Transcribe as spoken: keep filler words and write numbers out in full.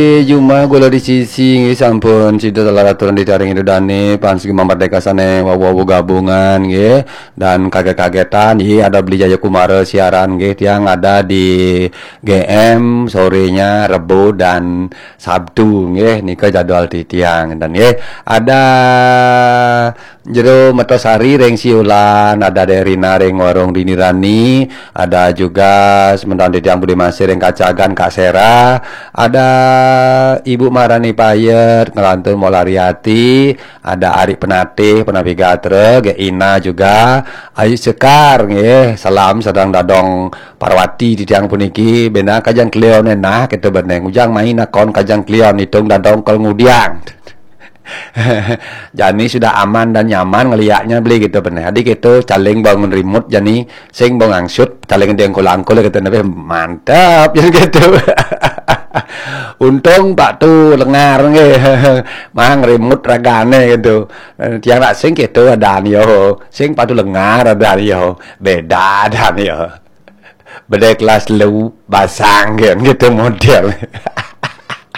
Jumah gula di sisi nggih, sampun sida salah aturan di taring Indo Dane, pan sugih mardeka sane wawu gabungan nggih, dan kaget-kagetan nggih, ada Beli Jaya Kumara siaran nggih, tiang ada di G M sorenya Rebo dan Sabtu nggih, nika jadwal titiang dan nggih, ada Jero Metosari ring Siulan, ada Derina ring Warung Dini Rani, ada juga semeton titiang Budi Masih ring Kacagan Kak Sera, ada Ibu Marani Payet ngelantun Molariati, ada Ari Penatih, Penapi Gatra, Ge Ina juga, Ayu Sekar nggih, salam sedang dadong Parwati titiang puniki, bena kajang klion enah kita beneng ujang main akon kajang klion hitung dadong kal ngudiang. Jani sudah aman dan nyaman ngeliaknya beli gitu beneh. Adi gitu caling bangun rimut jani sing bang angsut caling dia angkul-angkul gitu nabe mantap jadi gitu. Untung Pak tu lengar nggih. Mang rimut ragane gitu. Tiang nak sing gitu ada yo. Sing Pak tu lengar ada yo. Beda ada yo. Beda kelas lu basang kan gitu model.